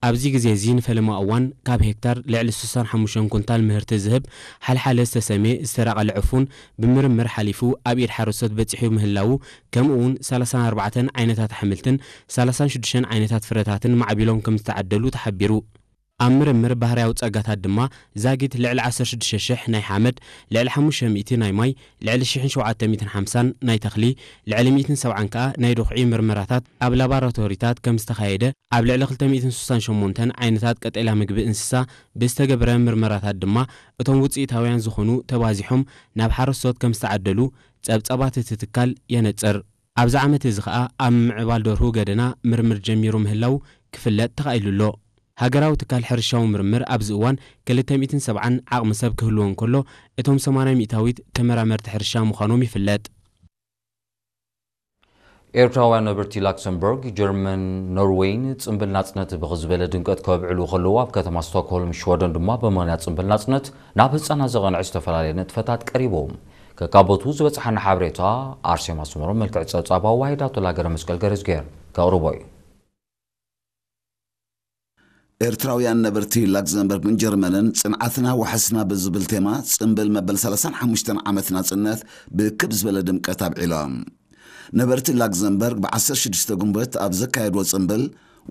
ኣብዚ ግዜ እዚ ንፈለማ እዋን ካብ ሄክታር ልዕሊ ስሳን ሓሙሽተን ኩንታል ምህርቲ ዝህብ ሓልሓለ ዝተሰምየ ዝተራቐለ ዕፉን ብምርምር ሓሊፉ ኣብ ኢድ ሓረስቶት በጺሑ ምህላዉ፣ ከምኡ እውን ሰላሳን ኣርባዕተን ዓይነታት ኣሕምልትን ሰላሳን ሽዱሽተን ዓይነታት ፍረታትን ማዕቢሎም ከም ዝተዓደሉ ተሓቢሩ። ኣብ ምርምር ባህርያዊ ጸጋታት ድማ ዛጊት ልዕሊ ዓሰርተ ሽዱሽተ ሽሕ ናይ ሓመድ፣ ልዕሊ ሓሙሽተ ሚእቲ ናይ ማይ፣ ልዕሊ ሽሕን ሸውዓተ ሚእትን ሓምሳን ናይ ተኽሊ፣ ልዕሊ ሚእትን ሰብዓን ከኣ ናይ ዱኽዒ ምርመራታት ኣብ ላቦራቶሪታት ከም ዝተኻየደ ኣብ ልዕሊ ክልተ ሚእትን ስሳን ሸሞንተን ዓይነታት ቀጠልያ ምግቢ እንስሳ ብዝተገብረ ምርመራታት ድማ እቶም ውጽኢታውያን ዝኾኑ ተባዚሖም ናብ ሓረስቶት ከም ዝተዓደሉ ጸብጻባት እቲ ትካል የነጽር። ኣብዚ ዓመት እዚ ኸኣ ኣብ ምምዕባል ደርሁ ገደና ምርምር ጀሚሩ ምህላው ክፍለጥ ተኻኢሉ ኣሎ። ሃገራዊ ትካል ሕርሻዊ ምርምር ኣብዚ እዋን ክልተ ሚእትን ሰብዓን ዓቕሚ ሰብ ክህልዎ እንከሎ፣ እቶም ሰማንያ ሚእታዊት ተመራመርቲ ሕርሻ ምዃኖም ይፍለጥ። ኤርትራውያን ነበርቲ ላክሰምበርግ፣ ጀርመን፣ ኖርዌይን ጽምብል ናጽነት ብኽዝበለ ድምቀት ከብዕሉ ከለዉ፣ ኣብ ከተማ ስቶክሆልም ሽወደን ድማ ብምኽንያት ጽምብል ናጽነት ናብ ህጻናት ዘቐንዐ ዝተፈላለየ ንጥፈታት ቀሪቡ። ከካቦቱ ዝበጽሓና ሓበሬታ ኣርሴማ ስመሮም መልክዕ ጸብጻብ ኣዋሂዳቶ ላገረ መስቀል ገረዝጌር ከቕርቦ እዩ። ኤርትራውያን ነበርቲ ላክዘምበርግን ጀርመንን ጽንዓትና ዋሕስና ብዝብል ቴማ ጽምብል መበል ሰላሳን ሓሙሽተን ዓመት ናጽነት ብክብ ዝበለ ድምቀት ኣብዒሎም። ነበርቲ ላክዘምበርግ ብ ዓሰርተ ሽዱሽተ ግንቦት ኣብ ዘካየድዎ ጽምብል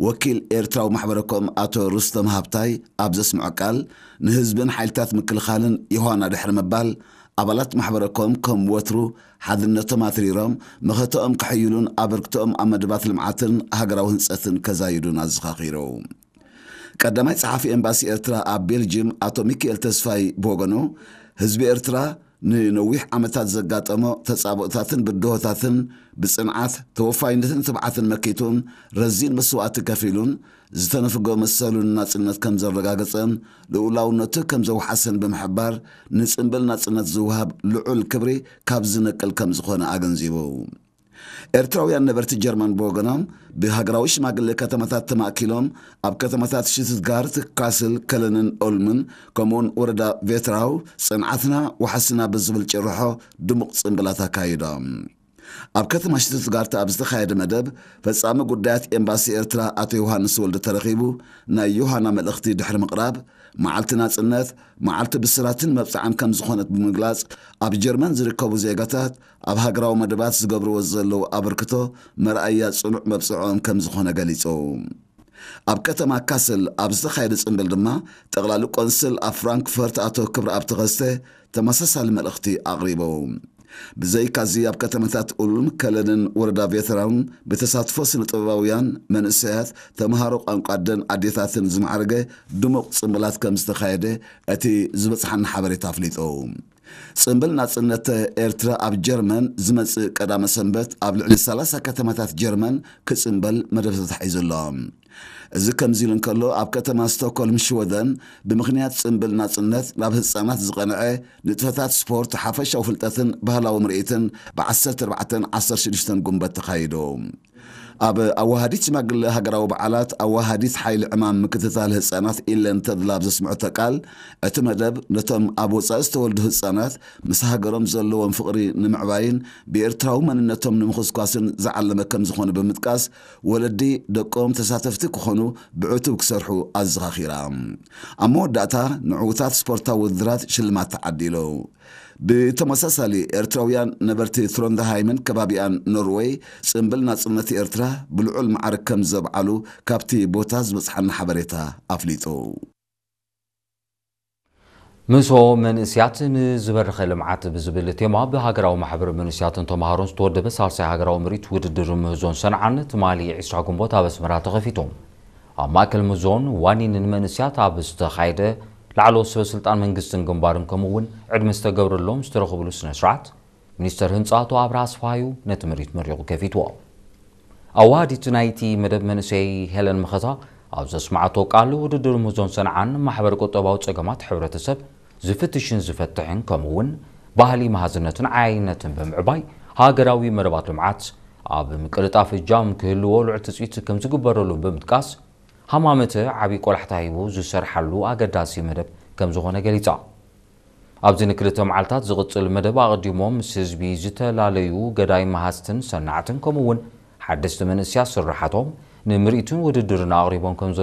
ወኪል ኤርትራዊ ማሕበረኮም ኣቶ ሩስተም ሃብታይ ኣብ ዘስምዖ ቃል፣ ንህዝብን ሓይልታት ምክልኻልን ዮሃና ድሕሪ ምባል፣ ኣባላት ማሕበረኮም ከም ወትሩ ሓድነቶም ኣትሪሮም መኸተኦም ከሕይሉን ኣበርክቶኦም ኣብ መደባት ልምዓትን ሃገራዊ ህንጸትን ከዛይዱን ኣዘኻኺሩ። ቀዳማይ ጸሓፊ ኤምባሲ ኤርትራ ኣብ ቤልጅም ኣቶ ሚካኤል ተስፋይ ብወገኑ፣ ህዝቢ ኤርትራ ንነዊሕ ዓመታት ዘጋጠሞ ተጻብኦታትን ብድሆታትን ብጽንዓት፣ ተወፋይነትን ትብዓትን መኪቱን ረዚን መስዋእቲ ከፊሉን ዝተነፍጎ መሰሉ ንናጽነት ከም ዘረጋገጸን ልኡላውነቱ ከም ዘውሓሰን ብምሕባር፣ ንጽምብል ናጽነት ዝወሃብ ልዑል ክብሪ ካብ ዝነቅል ከም ዝኾነ ኣገንዚቡ። ኤርትራውያን ነበርቲ ጀርመን ብወገኖም፣ ብሃገራዊ ሽማግሌ ከተማታት ተማእኪሎም ኣብ ከተማታት ሽቱትጋርት፣ ካስል፣ ከለንን ኦልምን ከምኡውን ወረዳ ቬትራው ጽንዓትና ዋሕስና ብዝብል ጭርሖ ድሙቕ ጽምብላት ኣካይዶም። ኣብ ከተማ ሽቱትጋርት ኣብ ዝተኻየደ መደብ፣ ፈጻሚ ጉዳያት ኤምባሲ ኤርትራ ኣቶ ዮሃንስ ወልደ ተረኺቡ ናይ ዮሃና መልእኽቲ ድሕሪ ምቕራብ፣ መዓልቲ ናጽነት፣ መዓልቲ ብስራትን መብጽዓን ከም ዝኾነት ብምግላጽ፣ ኣብ ጀርመን ዝርከቡ ዜጋታት ኣብ ሃገራዊ መደባት ዝገብርዎ ዘለዉ ኣበርክቶ መርኣያ ጽኑዕ መብጽዖም ከም ዝኾነ ገሊጹ። ኣብ ከተማ ካስል ኣብ ዝተኻየደ ጽምብል ድማ፣ ጠቕላሊ ቆንስል ኣብ ፍራንክፈርት ኣቶ ክብረኣብ ተኸስተ ተመሳሳሊ መልእኽቲ ኣቕሪቡ። ብዘይካዚ ኣብ ከተማታት ኡልም፣ ከለንን ወረዳ ቬተራውን ብተሳትፎ ስነ ጥበባውያን፣ መንእሰያት፣ ተምሃሮ ቋንቋ ኣደን ኣዴታትን ዝማዕረገ ድሙቕ ጽምብላት ከም ዝተኻየደ እቲ ዝበጽሓና ሓበሬታ ኣፍሊጡ። ጽምብል ናጽነት ኤርትራ ኣብ ጀርመን ዝመጽእ ቀዳመ ሰንበት ኣብ ልዕሊ ሰላሳ ከተማታት ጀርመን ክጽምበል መደብ ተታሒዙ ኣሎ። እዚ ከምዚ ኢሉ እንከሎ፣ ኣብ ከተማ ስቶክሆልም ሽወደን ብምኽንያት ጽምብል ናጽነት ናብ ህጻናት ዝቐንዐ ንጥፈታት ስፖርት፣ ሓፈሻዊ ፍልጠትን ባህላዊ ምርኢትን ብ ዓሰርተ ኣርባዕተን ዓሰርተ ሽዱሽተን ጉንበት ተኻይዱ። ኣብ ኣዋሃዲት ሽማግለ ሃገራዊ በዓላት ኣዋሃዲት ሓይሊ ዕማም ምክትታል ህጻናት ኢለን ተድላ ኣብ ዘስምዐቶ ቃል፣ እቲ መደብ ነቶም ኣብ ወጻኢ ዝተወልዱ ህጻናት ምስ ሃገሮም ዘለዎም ፍቕሪ ንምዕባይን ብኤርትራዊ መንነቶም ንምኹስኳስን ዝዓለመ ከም ዝኾነ ብምጥቃስ፣ ወለዲ ደቆም ተሳተፍቲ ክኾኑ ብዕቱብ ክሰርሑ ኣዘኻኺራ። ኣብ መወዳእታ ንዕዉታት ስፖርታዊ ውድድራት ሽልማት ተዓዲሉ። ብተመሳሳሊ፣ ኤርትራውያን ነበርቲ ትሮንደሃይምን ከባቢኣን ኖርወይ ጽምብል ናጽነት ኤርትራ ብልዑል ማዕርግ ከም ዘብዓሉ ካብቲ ቦታ ዝበጽሓና ሓበሬታ ኣፍሊጡ። ምሶ መንእስያት ንዝበረኸ ልምዓት ብዝብል ቴማ ብሃገራዊ ማሕበር መንእስያትን ተምሃሮን ዝተወደበ ሳልሳይ ሃገራዊ ምርኢት ውድድር ምህዞን ሰንዓን ትማሊ ዕስራ ግንቦት ኣብ ኣስመራ ተኸፊቱ። ኣብ ማእከል ምህዞን ዋኒንን መንእስያት ኣብ ዝተኻየደ ላዕለዎት ሰበ ስልጣን መንግስትን ግንባርን ከምኡ እውን ዕድመ ዝተገብረሎም ዝተረኸብሉ ስነ ስርዓት፣ ሚኒስተር ህንጻ ኣቶ ኣብርሃ ኣስፍሃዩ ነቲ ምርኢት መሪቑ ከፊትዎ። ኣዋሃዲት ናይቲ መደብ መንእሰይ ሄለን መኸታ ኣብ ዘስማዓቶ ቃል፣ ውድድር ምህዞን ሰንዓን ማሕበር ቁጠባዊ ጸገማት ሕብረተሰብ ዝፍትሽን ዝፈትሕን ከምኡ እውን ባህሊ መሃዝነትን ዓያይነትን ብምዕባይ ሃገራዊ መደባት ልምዓት ኣብ ምቅልጣፍ እጃም ክህልዎ ልዑል ትጽቢት ከም ዝግበረሉ ብምጥቃስ፣ ሃማመተ ዓቢ ቆላሕታ ሂቡ ዝሰርሓሉ ኣገዳሲ መደብ ከም ዝኾነ ገሊጻ። ኣብዚ ንክልተ መዓልታት ዝቕጽል መደብ ኣቐዲሞም ምስ ህዝቢ ዝተፈላለዩ ገዳይ መሃዝትን ሰናዕትን ከምኡ እውን ሓደስቲ መንእስያት ስርሓቶም ንምርኢትን ውድድርን ኣቕሪቦም ከም ዘለዉ